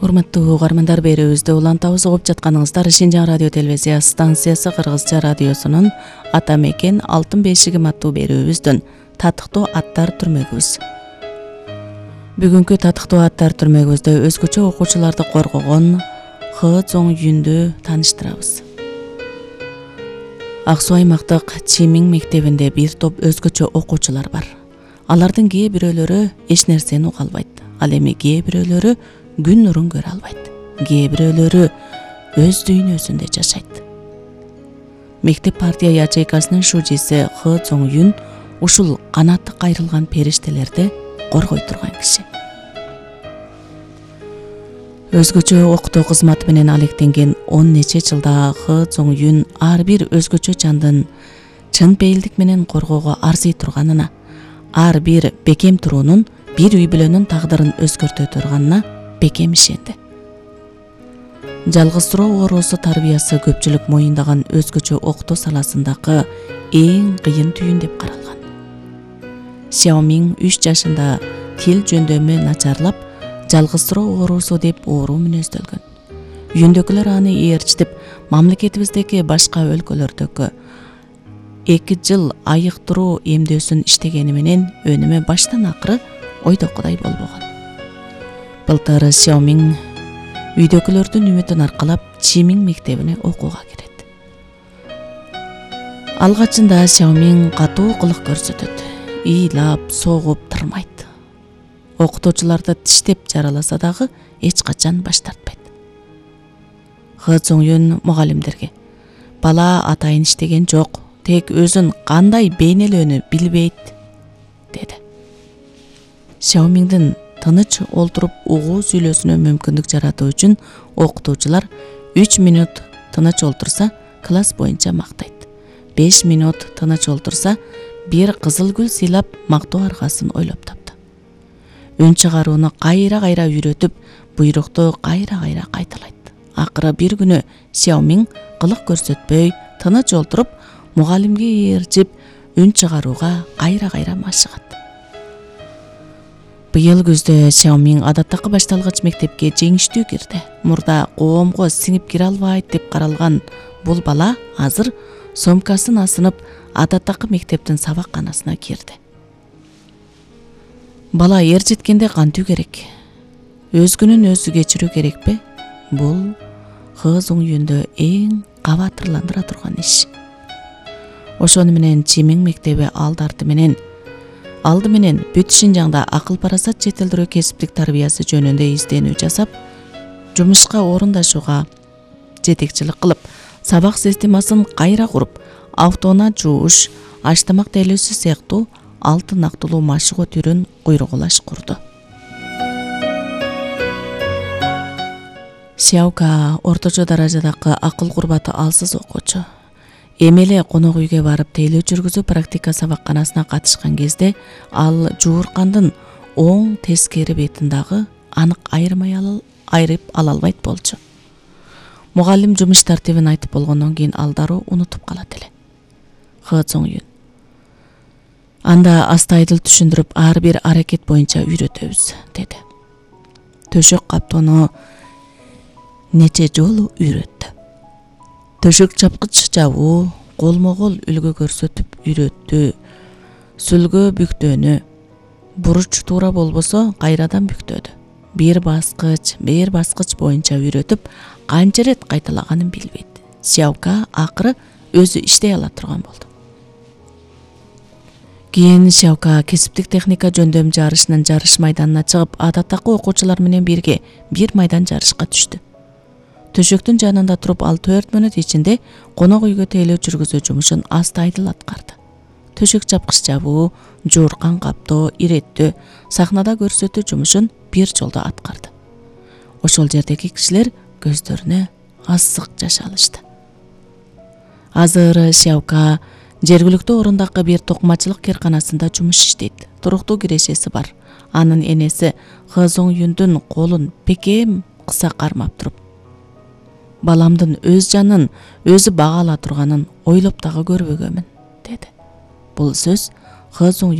Урматтуу угармандар, берүүбүздү улантабыз. Угуп жатканыңыздар Шинжаң радио телевизия станциясы Кыргызча радиосунун Ата мекен алтын бешигим аттуу берүүбүздүн татыктуу аттар түрмөгүбүз. Бүгүнкү татыктуу аттар түрмөгүбүздө өзгөчө окуучуларды коргогон Хы Цоң Юндү тааныштырабыз. Ак Суу аймактык Чимиң мектебинде бир топ өзгөчө окуучулар бар. Алардын кээ бирөөлөрү эч нерсени уга албайт. Ал эми кээ бирөөлөрү күн нурун көрө албайт. Кээ бирөөлөрү өз дүйнөсүндө жашайт. Мектеп партия ячейкасынын шужиси Хы Цоң Юн ушул канаты кайрылган периштелерди коргой турган киши. Өзгөчө окутуу кызматы менен алектенген 10 нече жылда Хы Цоң Юн ар бир өзгөчө жандын чын пейилдик менен коргоого арзый турганына, ар бир бекем туруунун бир үй бүлөнүн тагдырын өзгөртө турганына бекем ишенди. Жалгыздыроо оорусу тарбиясы көпчүлүк моюндаган өзгөчө окутуу саласындагы эң кыйын түйүн деп каралган. Xiaoming 3 жашында тил жөндөмү начарлап, жалгыздыроо оорусу деп оору мүнөздөлгөн. Үйүндөгүлөр аны ээрчитип, мамлекетибиздеги башка өлкөлөрдөгү 2 жыл айыктыруу эмдөөсүн иштегени менен өнүмү баштан акыры ойдокудай болбогон. Былтыр Xiaoming үйдөгүлөрдүн үмүтүн аркалап Чимиң мектебине окууга кирет. Алгачында Xiaoming катуу кылык көрсөтөт. Ыйлап, согуп тырмайт. Окутуучуларды тиштеп жараласа дагы эч качан баш тартпайт. Хы Цоң Юн мугалимдерге: "Бала атайын иштеген жок, тек өзүн кандай бейнелөөнү билбейт", деди. Xiaomingдин тыныч олтуруп угуу сүйлөсүнө мүмкүндүк жаратуу үчүн окутуучулар 3 минут тыныч олтурса класс боюнча мактайт. 5 минут тыныч олтурса бир кызыл гүл сыйлап мактоо аргасын ойлоп таптı. Үн чыгарууну кайра-кайра үйрөтүп, буйрукту кайра-кайра кайталайт. Акыры бир күнү Xiaoming кылык көрсөтпөй, тыныч олтуруп, мугалимге ээрчип, үн чыгарууга кайра-кайра машыгат. Быйыл күздө Xiaoming адаттагы башталгыч мектепке жеңиштүү кирди. Мурда коомго сиңип кире албайт деп каралган бул бала азыр сомкасын асынып, адаттагы мектептин сабакканасына кирди. Бала эр жеткенде кантуу керек? Өзгүнүн өзү кечирүү керекпи? Бул Хы Цоң Юндө эң кабатырландыра турган иш. Ошону менен Чимиң мектеби алды менен бүт Шинжаңда акыл парасат жетилдирүү кесиптик тарбиясы жөнүндө изденүү жасап, жумушка орундашууга жетекчилик кылып, сабак системасын кайра куруп, автоунаа жууш, аш-тамак тейлөөсү сыяктуу алты нактылуу машыгуу түрүн куйругулаш курду. Xiaoka орточо даражадагы акыл курбаты алсыз окуучу. Эми эле конок үйгө барып тейлөө жүргүзүү практика сабакканасына катышкан кезде ал жууркандын оң тескери бетин дагы анык айырып ала албайт болчу. Мугалим жумуш тартибин айтып болгондон кийин ал дароо унутуп калат эле. Хы Цоң Юн: "Анда астайдыл түшүндүрүп, ар бир аракет боюнча үйрөтөбүз", деди. Төшөк каптоону нече жолу үйрөттү. Төшөк чапкыч жабуу, колмо-кол үлгү көрсөтүп үйрөттү. Сүлгө бүктөөнү, буруч туура болбосо кайрадан бүктөдү. Бир баскыч боюнча үйрөтүп, канча рет кайталаганын билбейт. Xiaoka акыры өзү иштей ала турган болду. Кийин Xiaoka кесиптик техника жөндөм жарышынын жарыш майданына чыгып, адаттагы окуучулар менен бирге бир майдан жарышка түштү. Төшөктүн жанында туруп, ал 4 мүнөт ичинде конок үйгө тейлөө жүргүзүү жумушун астайдыл аткарды. Төшөк чапкыч жабуу, жууркан каптоо, иреттөө, сахнада көрсөтүү жумушун бир жолдо аткарды. Ошол жердеги кишилер көздөрүнө асык жаш алышты. Азыр Xiaoka жергиликтүү орундагы бир токумачылык кээрканасында жумуш иштейт. Туруктуу кирешеси бар. Анын энеси Хы Цоң Юндүн колун бекем кыса кармап туруп: "Баламдын өз жанын өзү бага ала турганын ойлоп дагы көрбөгөмүн", деди. Бул сөз Хы Цоң